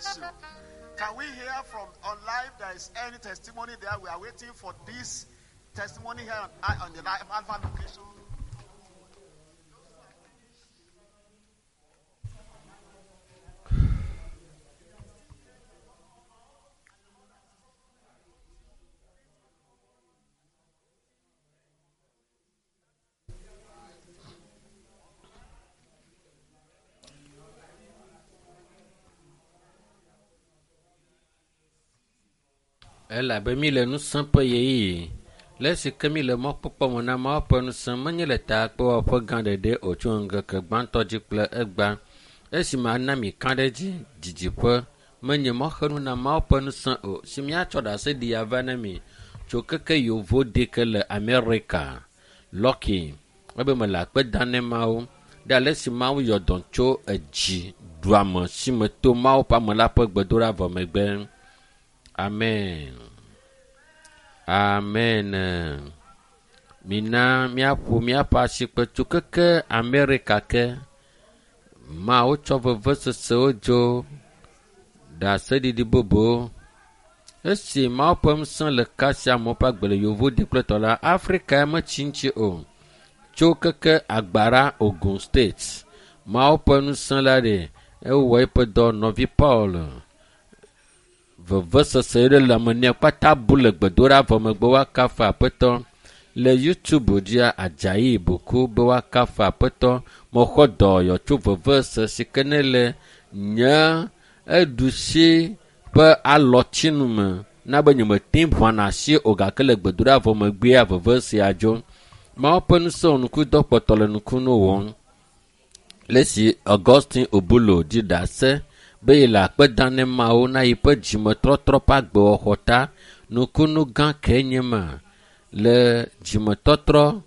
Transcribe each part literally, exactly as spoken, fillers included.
bless you. Can we hear from on live? There is any testimony there? We are waiting for this testimony here on, on the live Alpha location. Elabe mi le ŋusẽ ƒe ɣeyiɣi. Le esi ke mi le mɔkpɔkpɔ me na Mawu ƒe ŋusẽ menye le takpewɔƒe gã ɖeɖe o tso ŋkeke gbãtɔ dzi kple egbea. Esime ana mi ka ɖe edzi didiƒe menye mɔxenu na Mawu ƒe ŋusẽ o si míatsɔ ɖaseɖi ava na mi tso keke yevo de ke le Amerika. Lɔki ebe mele akpe dam ne Mawu ɖe ale si Mawu yɔ dɔ tso edzi ɖuame si me to Mawu ƒe ame la ƒe gbedoɖa vɔ megbe. Amen. Amen. Mina míaƒo míaƒe asikpe tso keke Amerika ke. Mawu tsɔ vevesesewo dzo ɖaseɖiɖi bubu. Esi Mawu ƒe ŋusẽ le kasia amewo ƒe agbe le yevu dikplɔtɔ la, Afrika ya metsi ŋuti o. Tso keke Agbara Ogun State. Mawu ƒe ŋusẽ la ɖe ewɔ eƒe dɔ nɔvi Paul. Vevesese ɖe le ame nɛ kpata bu le gbedoɖa vɔ megbe woakafu aƒetɔ. Le YouTube dzia Adzayi Boku be woakafu aƒetɔ. Mexɔ dɔyɔ tso vevesese si ke ne le nye eɖusi ƒe alɔtsinu me na be nyemete ŋu ʋãna asi o gake le gbedoɖa vɔ megbea vevesea dzo. Mawu ƒe ŋusẽ wɔnukudɔ kpɔtɔ le nukunu wɔm. Le esi Augustine Obulo dzi ɖase be yele akpe dam ne Mawu na yiƒe dzimetɔtrɔ ƒe agbewɔxɔ ta nukunu gã ke nye ma le dzimetɔtrɔ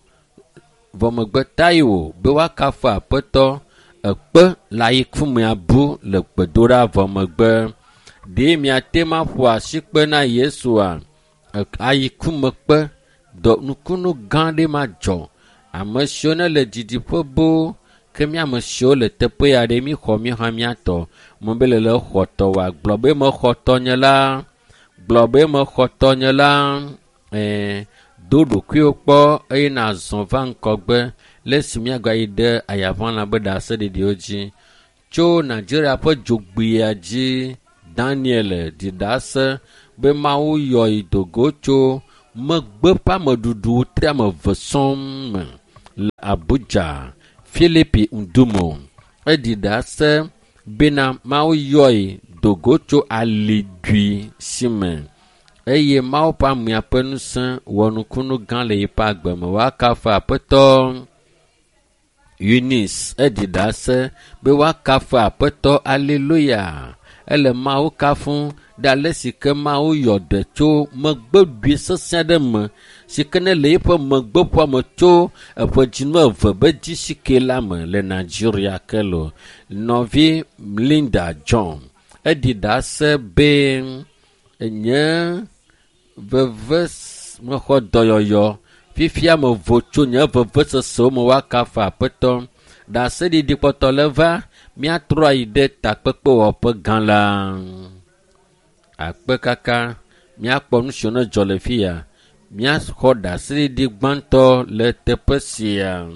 vɔ megbe Taiwo be woakafu aƒetɔ ekpe le ayikumea bu le gbedoɖa vɔ megbe. Ɖe miate ŋu aƒo asikpe na Yesua ayikumekpe dɔ nukunu gã ɖe ma dzɔ. Ame siwo ne le didiƒe boo ke mía ame siwo le teƒe ya ɖe míxɔ mí hã míatɔ. Me be le le xɔ tɔ wa gblɔ be mexɔ tɔnye la gblɔ be mexɔ tɔnye la ɛɛ do ɖokuiwo kpɔ eye nazɔ va ŋgɔgbe le esi míagayi ɖe ayaʋãla be ɖaseɖiɖiwo dzi. Tso Nigeria ƒe dzogbea dzi Daniel ɖi ɖase be Mawu yɔ yi dogo tso megbe ƒe ameɖuɖu tri ame eve sɔŋ me le Abuja. Philipi Ndumo eɖi ɖase bena Mawu yɔe dogo tso alidui si me eye Mawu ƒe amea ƒe ŋusẽ wɔ nukunu gã le yiƒe agbe me. Woakafu aƒetɔ Eunice eɖi ɖase be woakafu aƒetɔ aleluya. Ele Mawu kafum ɖe ale si ke Mawu yɔ ɖe tso megbeɖui sesẽ ɖe me si ke ne le eƒe megbeƒoa me tso eƒe dzinu eve be dzisike la me le Nigeria ke lo. Nɔvi Linda John eɖi ɖase be nye veve mexɔ dɔyɔyɔ fifia mevo tso nye vevesesewo me woakafu aƒetɔ. Ɖaseɖiɖi kpɔtɔ le va míatrɔ ayi ɖe takpekpewɔƒe gã la. Akpe kaka míakpɔ nu siwo ne dzɔ le fi ya. Míaxɔ ɖaseɖiɖi gbãtɔ le teƒe sia.